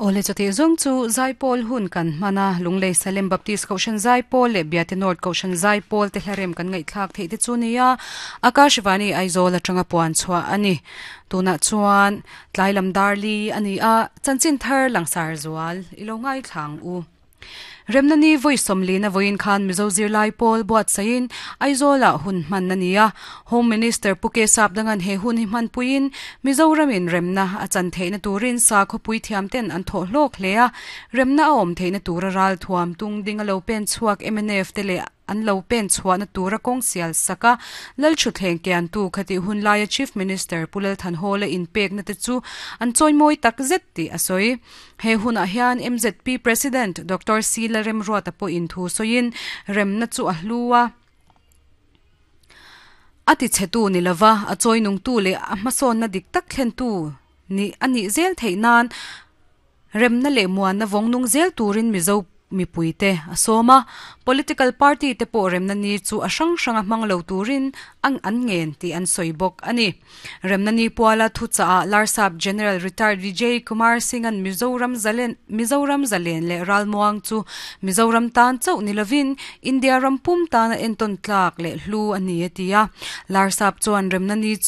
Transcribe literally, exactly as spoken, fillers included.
Ole chati zong chu zaipawl hun kan hmana Lunglei Salem Baptist Kohhran zaipawl leh Biate North Kohhran zaipawl te hlarem kan ngaihthlak theih te chu nia Akashvani Aizawl atanga puan chhuah ani tunah chuan tlailam darli ani a chanchin thar langsar zual ilo ngai thlang u Remnani voi somli na voin khan Mizo zirlai pawl buat sain Aizawl hun hman na nia Home Minister Puke Sap dangan he hun hi hman puin Mizoramin remna a chan theina turin sa khopui thiam ten an tho hlok hlea remna a awm theina tura ral thuam tung ding a lo pen chhuak M N F te le an lo pen chhuah na tura kawng sial saka lal thu thleng kian tu khati hun laia Chief Minister Pulal Thanhawla in pek na te chu an chawimawi tak zet ti a sawi. He hunah hian M Z P President Doctor C Lalremruata pawh in thu sawiin remna chu a hlua a ti chhetu ni lova a chawi nung tu leh a hmasawn na dik tak thlen tu ni ani zel theih nan remna leh muan na vawng nung zel turin Mizo mipuite a sawma political party te pawh remna ni chu a hrang hranga hmang lo turin ang an ngen tih an sawi bawk ani. Remna ni puala thu chaah Larsap General Retired Vijay Kumar Singh an Mizoram zalen Mizoram zalen leh ralmuang chu Mizoram tan chauh ni lovin India ram pum tana entawn tlak leh hlu ani a ti a. Larsap chuan remna ni chu